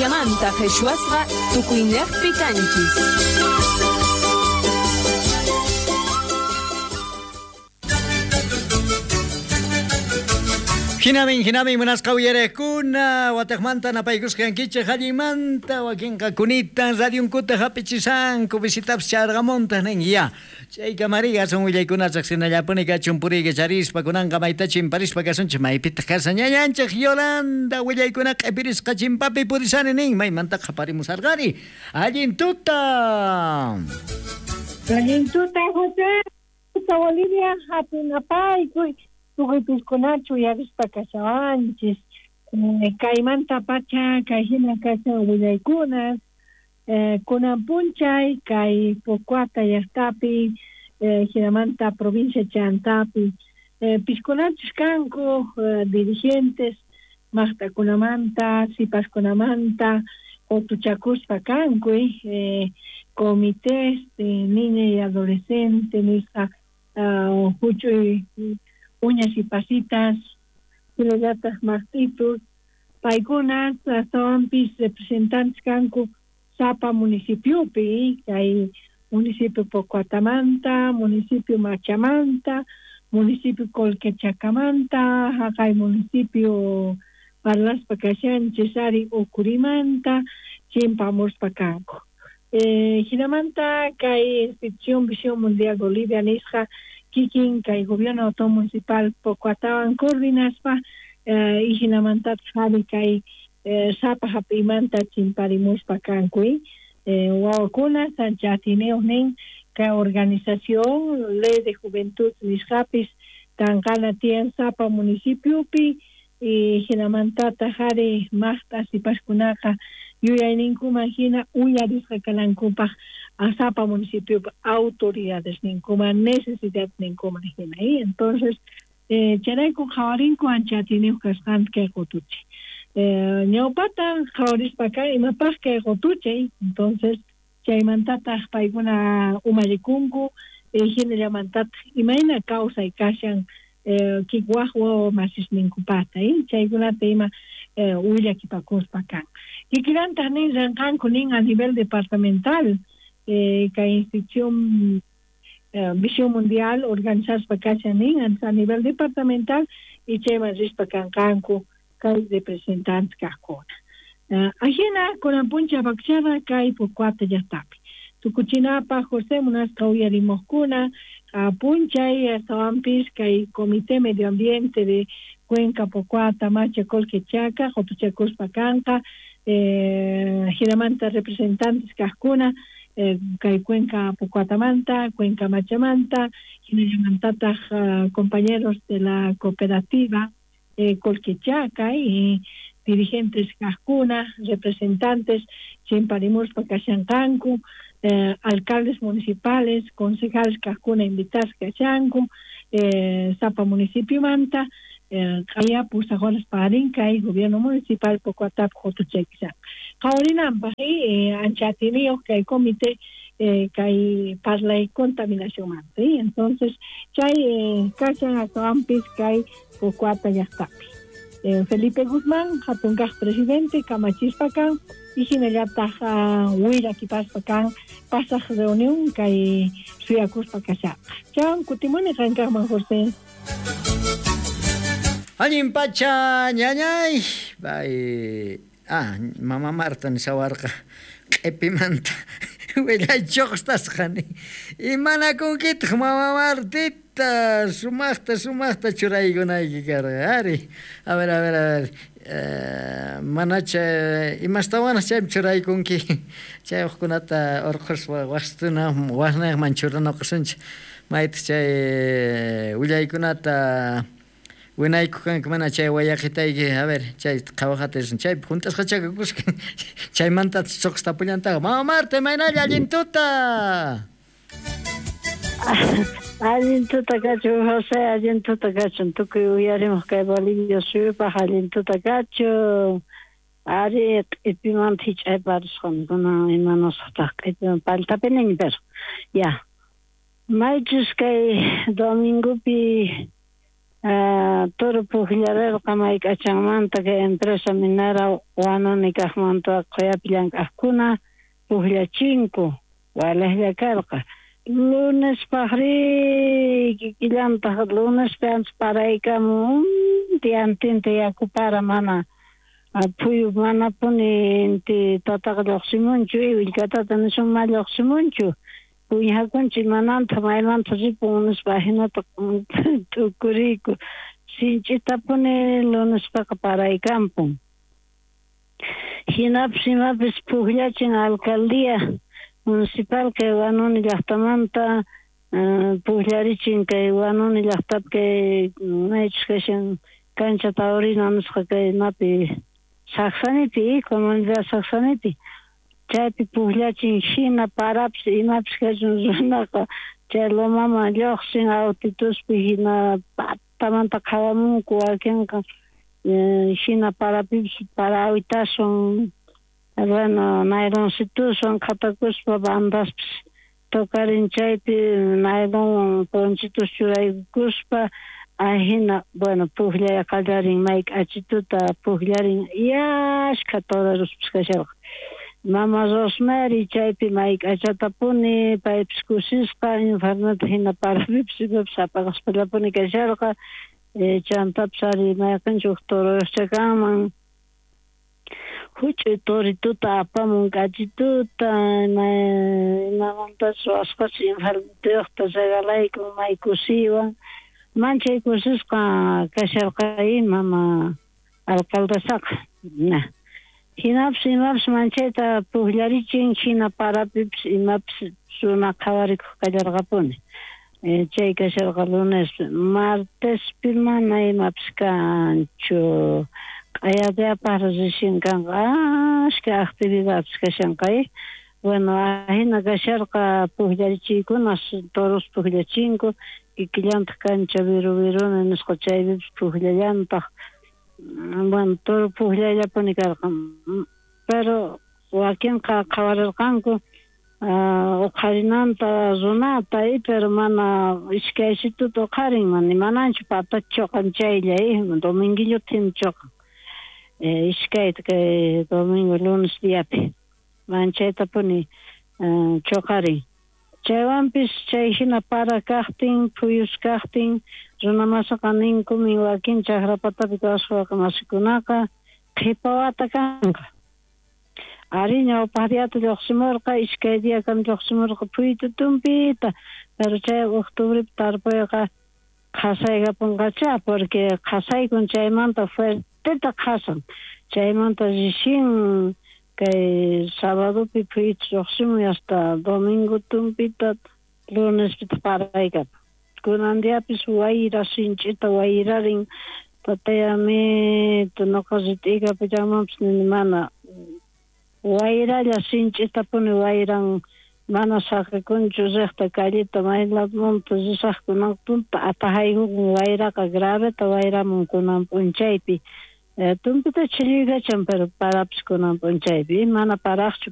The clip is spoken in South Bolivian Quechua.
Boliviamanta qhichwasqa tukuyniqpi kanchis. Hinamin, hinamin, munasqa uyariqkuna, wataqmanta napaykusqa kankichik allinmanta, wakinqa kunitan radionkuta hap'ichisanku, visitapis charqamuntaq nin, ya. Chaykamari aswan willaykuna riqsinallapuni kachun puriyka charispa, kunanqa mayta chimparispa kasunchik, maypitaq kashan ñañanchik Yolanda, willaykuna q'ipirisqa chimpapi purisani nin, maymanta qhaparimusarqari. Allin tuta. Allin tuta, José. Tuta Bolivia, hatun apaykuy. Tukuy piskunachu uyarispa kashawanchis. Kaymanta pacha kay hina kashan willaykunas. Kunan punchay kay Pocoata llaqtapi, hinamanta provincia Chantapi, piskunachus kanku dirigentes maqt'akunamanta, sipaskunamanta qutuchakuspa kanku, comités de niña y adolescente nisqa huch'uy uñas y pasitas, hinallataq maqt'itus, paykuna astawanpis representantes kanku sapa municipiopi, kay municipio Pocoatamanta, municipio Machamanta, municipio Colquechacamanta, haqay municipio parlaspa kashanchis ari Ucurimanta, chimpamuspa kanku. Hinamanta kay institución Visión Mundial Bolivia nisqa kikin kay gobierno autónomo municipal Pocoatawan coordinaspa, y hinamantataq ari kay sapa hap'imanta chimparimuspa kanku, wawakuna ancha atiniyuq nin kay organización Ley de Juventud nisqapis tanqana tiyan sapa municipiopi, y hinamantataq ari maqt'a sipaskunaqa yuyayninkuman hina uyarisqa kanankupaq sapa municipiopi autoridades ninkuman, necesidad ninkuman hina. Entonces, chayrayku qhawarinku ancha atiniyuq kasqanta kay qutuchay. Ñawpata qhawarispa kan imapaq kay qutuchay, entonces chaymantataq paykuna umallikunku, hinallamantataq imayna kawsay kashan kikwaq wawa masisninkupata, chaykunata ima willakipakuspa kan. Kikillantaq nin ranqanku nin a nivel departamental, kay institución Visión Mundial organizaspa kashan nin a nivel departamental, y chayman rispa kanqanku kay representantes kaqkuna. Ajina kunan puncha bakchara kay Pocoata llaqtapi. Tukuchinapaq José munasqa uyarimuqkuna, punchay astawanpis kay Comité Medio Ambiente de Cuenca Pocoata Macha Colquechaca qutuchakuspa kanqa, hinamanta representantes kaqkuna, kay Cuenca Pocoatamanta, Cuenca Machamanta, hinallamantataq compañeros de la cooperativa Colquechaca y dirigentes kaqkuna, representantes chimparimuspa kashanqanku, alcaldes municipales, concejales kaqkuna invitasqa kashanku, sapa municipiomanta, qaya pusaq horas parin kay gobierno municipal Pocoatap qutuchaykisan. Qhawarinanpaq, ancha atiniyuq kay comité kay parlay contaminacionmanta. Entonces chay kashan astawanpis kay Pocoata llaqtapi. Felipe Guzmán, hatun kaq presidente, kamachispa kan, y hinallataq willakipaspa kan pasaq reunión kay suyakuspa kashaqa. Chan kutimuni qankaqman, José. Allin pacha, ñañay. Bay, mama Marta nishawarqa q'ipimanta willaychuqtasqani. Imanakunkitaq mama Martita, sumaqta sumaqta churaykunayki karqa, ari. A ver, a ver, a ver. Manacha imastawanaq chaypi churaykunki, chay hukkunata urquspa waqtuna waqnayman churanakusunchik. Maytaq chay willaykunata winaykuq kanki mana chay wayaqitayki, a ver, chay qhawaqata chaypi hunt'asqacha kakusqa, chaymantataq chuqstapullantaqa. Mama Marta, imaynalla allin tuta. Allin tuta kachun, José, allin tuta kachun, tukuy uyarimuq kay Bolivia suyupaq allin tuta kachun. Ari q'ipimanta hich'ayparisqan kunan imanasqataq q'ipiman paltapiniña, pero ya. Maychus kay domingopi Toro pujllarerqa mayk'achanmanta kay empresa minera Huanuni kajmanta qhoyapi llank'ajkuna pujllachinku walejlla karqa. Lunespajrí kikillantaj lunespi ancha paraykamun diantinta yaku para mana phuyu manapuni inti tataqa lluqsimunchu willkatata nisun ma lluqsimunchu puñakunchik mananta maymanta ripun nispa ajinata t'ukuriyku sinch'itapuni lunespaqa paraykampun. Hinapis imapis pujllachin alcaldía municipal kay Huanuni llaqtamanta pujllarichin kay Huanuni llaqtapi kay maychus kashan cancha taurina nisqa kay imapi Sacsanipi, comunidad Sacsanipi chaypi pujllachin hina parapis imapis kachun runaqa chay lomaman lluqsin autituspi hina patamanta qhawamunku wakinqa hina parapipis parawitaswan bueno nayloncituswan qhatakuspa bandaspis tocarin chaypi naylonwan ponchitus churaykuspa ajina bueno pujllay qallarin may k'achituta pujllarin ashkha torerospis kasharqa. Mama Rosemary chaypi may k'achatapuni paypis kusisqa infarnata hina parapipis imapis apaqaspallapuni kasharqa chantapis ari mayqinchus uj toroyuqcha kanman huch'uy torituta apamun k'achituta imamantachus ruwasqachus infarnituyuqta regalaykun may kusiywan manchay kusisqa kasharqa mama alcaldesaqa. Hinapis imapis manchayta pujllarichin hina parapipis imapis runa qhawarikuq kallarqapuni. Chay kasharqa lunespi martespi mana imapis kanchu q'ayadiapaq recién kanqa ashka actividades kashanqa. Bueno ajina kasharqa pujllarichiykunas toros pujllachinku kikillantaq cancha viru viruni nisqa chaypipis pujllallantaq bueno toro pujllayllapuni karqa pero wakinqa qhawarirqanku uqharinanta runata pero mana iskaysituta uqharin mana mananchu patata choqan chaylla dominguillota hina choqan iskayta kay domingo lunes diapi manchaytapuni choqarin. Chaywanpis chay hina para kaqtin phuyus kaqtin runamasaqa ninkumin wakin chakra patapi kawsaq masikunaqa qhipa wata kanqa. Ari ñawpaq diata lluqsimurqa iskay diakama lluqsimurqa phuytu tumpita pero chay octubrepi tarpuyqa qhasaykapunqacha porque qhasaykun chaymanta fuerteta qhasan chaymanta recién kay sabadopi phuyuta lluqsimun hasta domingo tumpita lunespita paraykapun. Kunan diapis wayra sinch'ita wayrarin tatayamito noqa rit'ikapullanmanpis nini mana wayralla sinch'itapuni wayran mana saqikunchu riqta calleta may ladumanta risaqkunaqa tumpa atajaykukun wayraqa graveta wayramun kunan p'unchaypi tumpita chilluykachan pero parapis kunan p'unchaypi mana paraqchu.